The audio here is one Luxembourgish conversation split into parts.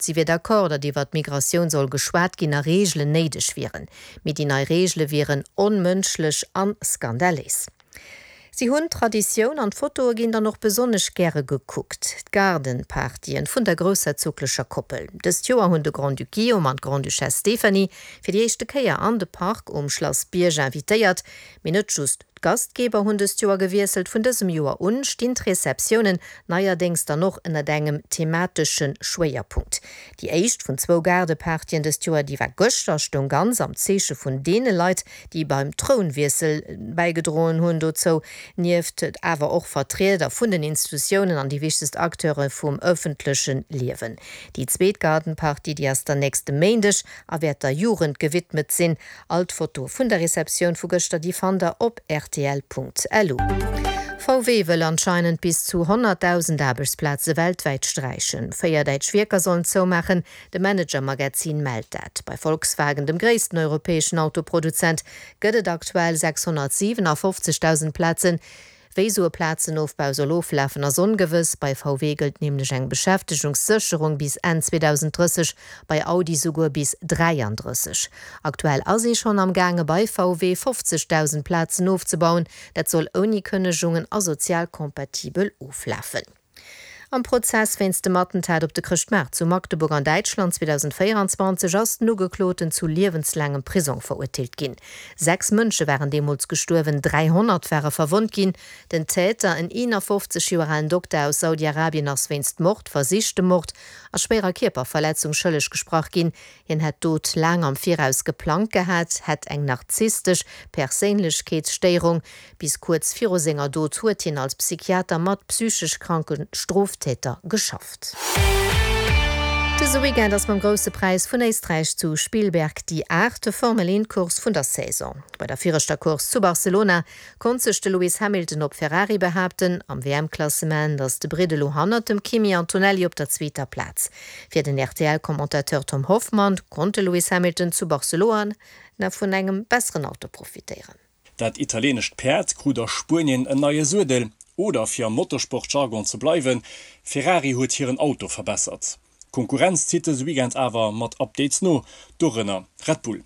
Si wier d'accord, datt iwwer d'Migratioun soll geschwat ginn a Reegelen néideg wieren. Mee déi nei Reegele wieren onmënschlech an skandaléis. Si hunn Traditioun an d'Fotoe ginn dann och besonnesch gäre gekuckt, d'Gaardenpartyen vun der groussherzoglecher Koppel. Dëst Joer hunn de Grand-Duc Guillaume an d'Grande-Duchesse Stéphanie fir déi éischte Kéier an de Park um Schlass Bierg invitéiert. Mee net just D'Gastgeber hunn dëst Joer gewiesselt. Vun dësem Joer un stinn d'Receptiounen neierdéngs dann och ënnert engem thematesche Schwéierpunkt. Déi éischt vun zwou Gaardepartyen dëst Joer, déi war gëschter, stoung ganz am Zeeche vun deene Leit, déi beim Trounwiessel bäigedroen hunn. Dozou nieft awer och Vertrieder vun den Institutiounen an déi wichtegst Acteure vum ëffentleche Liewen. Déi zweet Gardenparty, déi ass dann nächste Méindeg a wäert der Jugend gewidmet sinn. All d'Fotoe vun der Receptioun vu gëschter, déi fannt der op rtl.lu. VW wëll anscheinend bis zu 100.000 Aarbechtsplaze weltwäit sträichen. 4 däitsch Wierker sollen zoumaachen, de Manager Magazin mellt dat. Bei Volkswagen, dem gréissten europäeschen Autoproduzent, gëtt et aktuell 657.000 Plazen. Wéi sou e Plazenofbau soll oflafen ass ongewëss. Bei VW gëllt nämlech eng Beschäftegungssécherung bis Enn 2030, bei Audi souguer bis 33. Aktuell ass ee schonn am gaange bei VW 50.000 Plazen ofzebauen. Dat soll ouni Kënnegungen a sozial kompatibel oflafen. Am Prozess wéinst dem Attentat op de Chrëschtmaart zu Magdeburg an Däitschland 2024 ass den Ugekloten zu liewenslaangem Prisong verurteelt ginn. 6 Mënsche waren deemools gestuerwen, 300 ware verwonnt ginn. Den Täter, en 51 Joer alen Dokter aus Saudi-Arabien, ass wéinst Mord, versichtem Mord a schwéierer Kierperverletzung schëlleg gesprach ginn. Hien hätt d'Dot laang am Viraus geplangt gehat, hätt eng narzisstesch Perséinlechkeetsstéierung. Bis kuerz viru senger Dot huet hien als Psychiater mat psychesch kranke Stroftäter geschafft. Dëse Weekend ass mam Grousse Präis vun Éisträich zu Spielberg déi aachte Formel-Eent-Course vun der Saison. Bei der viregter Course zu Barcelona konnt sech de Lewis Hamilton op Ferrari behaapten. Am WM-Klassement ass de Britt elo hannert dem Kimi Antonelli op der zweeter Plaz. Fir den RTL-Commentateur Tom Hoffmann konnt de Lewis Hamilton zu Barceloana vun engem besseren Auto profitéieren. Dat italienescht Päerd krut a Spuenien en neie Suedel, oder fir am Motorsport-Jargon ze bleiwen, Ferrari huet hiren Auto verbessert. D'Konkurrenz zitt dëse Weekend awer mat Updates no, dorënner Red Bull.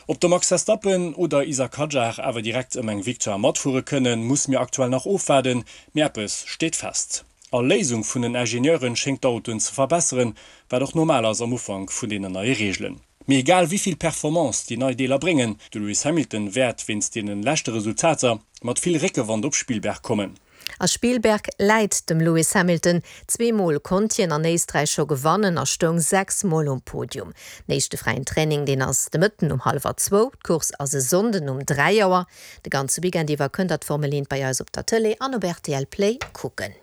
Ob de Max Verstappen oder Isack Hadjar awer direkt ëm eng Victoire matfuere kënnen, musse mir aktuell nach ofwaarden, mee eppes steet fest, All Léisung vun den Ingenieuren schéngt d'Autoen ze verbesseren, wat och normal ass am Ufank vun deenen neie Reegelen. Mee egal wéi vill Performance déi nei Deeler bréngen, de Lewis Hamilton wäert wéinst deene leschte Resultater mat vill Réckewand op Spielberg kommen. A Spielberg läit dem Lewis Hamilton. Zweemol konnt hien an Éisträich scho gewannen a stoung 6 Mol um Podium. Den éischte fräien Training, deen ass de Mëtten um hallwer zwou. D'Course ass e Sonnden um 3 Auer. De ganze Weekend iwwer kënnt der d'Formel 1 bei eis op der Tëlee an op rtl Play kucken.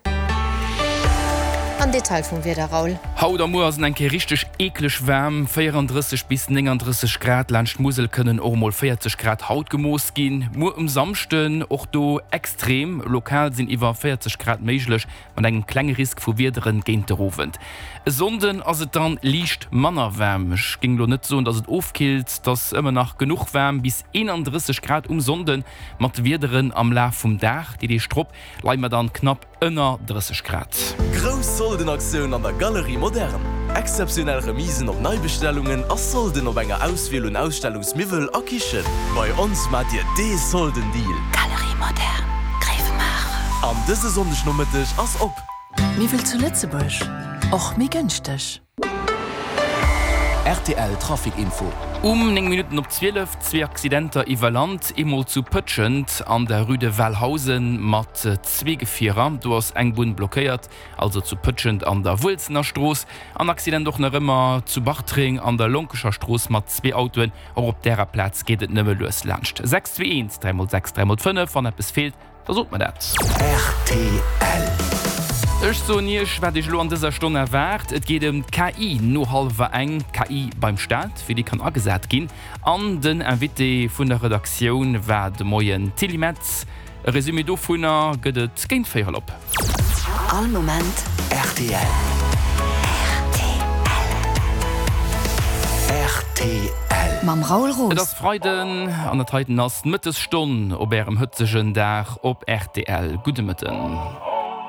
Am Detail vum Wieder, Raoul. Haut a muer ass et eng Kéier richteg eekleg waarm, 34 bis 39 Grad, laanscht d'Musel kënnen och emol 40 Grad haut gemooss ginn. Muer um Samschden och do extrem, lokal sinn iwwer 40 Grad méiglech, mat engem klenge Risk vu Wiederen géint der Owend. E Sonnden ass et dann liicht manner waarm, ech géing elo net soen, dass et ofkillt, et ass ëmmer nach genuch waarm, bis 31 Grad um Sonnde mat Wiederen am Laf vum Dag. Déi Deeg drop leie mer dann knapp ënner 30 Grad. Grouss Soldenaktioun an der Galerie Moderne! Exzeptionell Remisen op Neibestellungen a Solden op enger Auswiel un Ausstellungsmiwwel a Kichen. Bei ons maacht Dir dee Soldendeal! Galerie Moderne, Gréiwemaacher. An dëse Sonndegnomëtteg ass op! Miwwel zu Lëtzebuerg, och méi gënschteg. Rtl Trafic Info. Um 9 Minutten op 12 zwee Accidenter iwwer Land, eemol zu Pëtschent an der Rue de Walhausen mat zwee Gefierer, do ass eng Bunn blockéiert, also zu Pëtschent an der Wuelzener Strooss, an Accident och nach ëmmer zu Bartreng an der Lonkecher Strooss mat zwee Autoen, och op därer Plaz geet et nëmme lues laanscht. 6 2 1 3 mol 6 3 mol 5, wann eppes feelt, Da sot mer dat. Rtl. Ech soen Iech, wat Iech elo an dëser Stonn erwaart. Et geet ëm d'KI no hallwer eng, d'KI beim Staat, wéi déi kann agesat ginn. An den Invité vun der Redaktioun war de Moien d'Tilly Metz. E Resumé dovunner gëtt et géint véierel op. All Moment rtl. Rtl. Rtl. Mam Raoul Et Roos. ass Freiden an dat heiten ass d'Mëttesstonn op Ärem hëtzegen Dag op rtl. Gudde Mëtten.